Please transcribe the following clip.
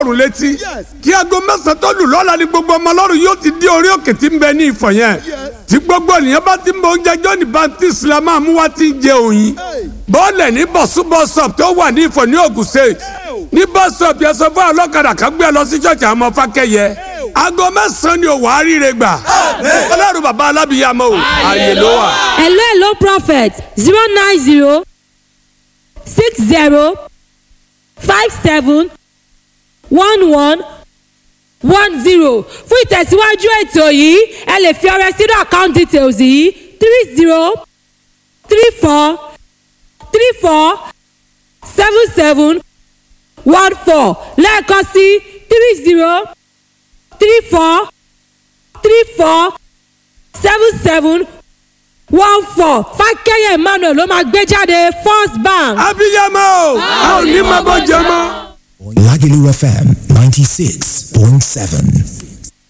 Ọlọ́run létí. Kí aago 9 tó lù lọ́la ni gbogbo ọmọ Ọlọ́run yóò ti dé orí òkè tí ń bẹ ní Ifọ̀ yẹn. Tí gbogbo ènìyàn bá ti ń bọ oúnjẹ John Baptist la máa mú wá tí ń jẹ òyìn. Bọ́ọ̀lẹ̀ ní bọ̀sú bọ́sọ̀p tó wà ní Ifọ̀ ní Ògùn State. Ní bọ́sọ̀p yẹn sọ fún ọlọ́kadà kan gbé ẹ lọ sí ṣọ́ọ̀ṣì àwọn ọmọ Fákẹ́yẹ. Aago 9 ni òwò àríire gbà. Ọlọ́run bàbá alábìyamọ o, ààyè ló wà. Hello, hello, prophet. 090 60 57 11 10. Fún ìtẹ̀síwájú ètò yìí, ẹ lè fi ọrẹ sínú account details yìí: 30 34 34 77 14. Lẹ́ẹ̀kan sí: 30 34 34 77 14. Fákẹ́yẹ̀ Emmanuel ló máa gbé jáde, First Bank. Abiyamọ o, a ò ní máa bọ́ jẹ mọ́. Lagelu FM 96.7.